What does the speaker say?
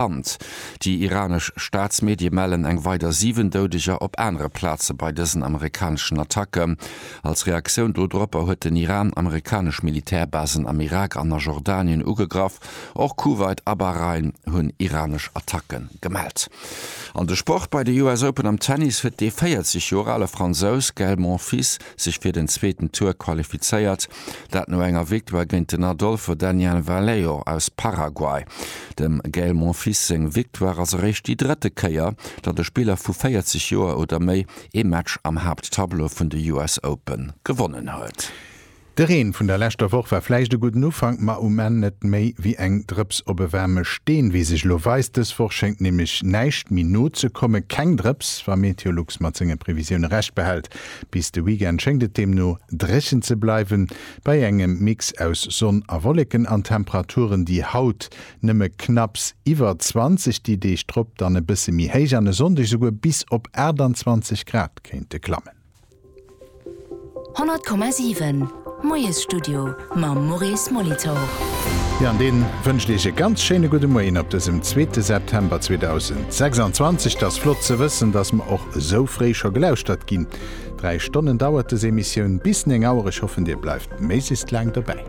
Land. Déi iranesch Staatsmedie mellen eng weider 7 Doudeger op anere Plaze bei dësen amerikaneschen Attacken. Als Reaktioun dodropper huet den Iran amerikanesch Militärbasen am Irak an a Jordanien ugegraff. Och Kuwait a Bahrain hunn iranesch Attacke gemellt. An de Sport, Bei de US Open am Tennis huet dee 40 Joer ale Fransous Gaël Monfils sech fir den zweeten Tour qualifizéiert. Dat no enger Victoire géint den Adolfo Daniel Vallejo aus Paraguay. Dem Gaël Monfils seng Victoire ass eréischt déi drëtte Kéier, datt e Spiller vu 40 Joer oder méi ee Match am Haapttableau vun de US Open gewonnen huet. De Reen vun der leschter Woch war vläicht e gudden Ufank, ma um Enn net méi wéi eng Drëps op e waarme Steen. Wéi sech elo weist, dës Woch schéngt nämlech näischt méi nozekommen. Keng Drëps, wa Meteolux mat senge Previsioune Recht behält. Bis de Weekend schéngt et deemno dréchen ze bleiwen, bei engem Mix aus Sonn a Wolleken an Temperaturen, déi haut nëmme knapps iwwer 20, déi Deeg drop dann e bësse méi héich an e Sonndeg esouguer bis op 28 Grad kéinte klammen. 100,7 Moiesstudio mam Maurice Molitor. Jo, an dee wënscht Iech e ganz schéine gudde Moien op dësem zweete September 2026. 't ass flott ze wëssen, dass mer och esou fréi scho gelauschtert ginn. 3 Stonnen dauert des Emissioun bis 9 Auer. Ech hoffen, Dir bleift méiglechst laang dobäi.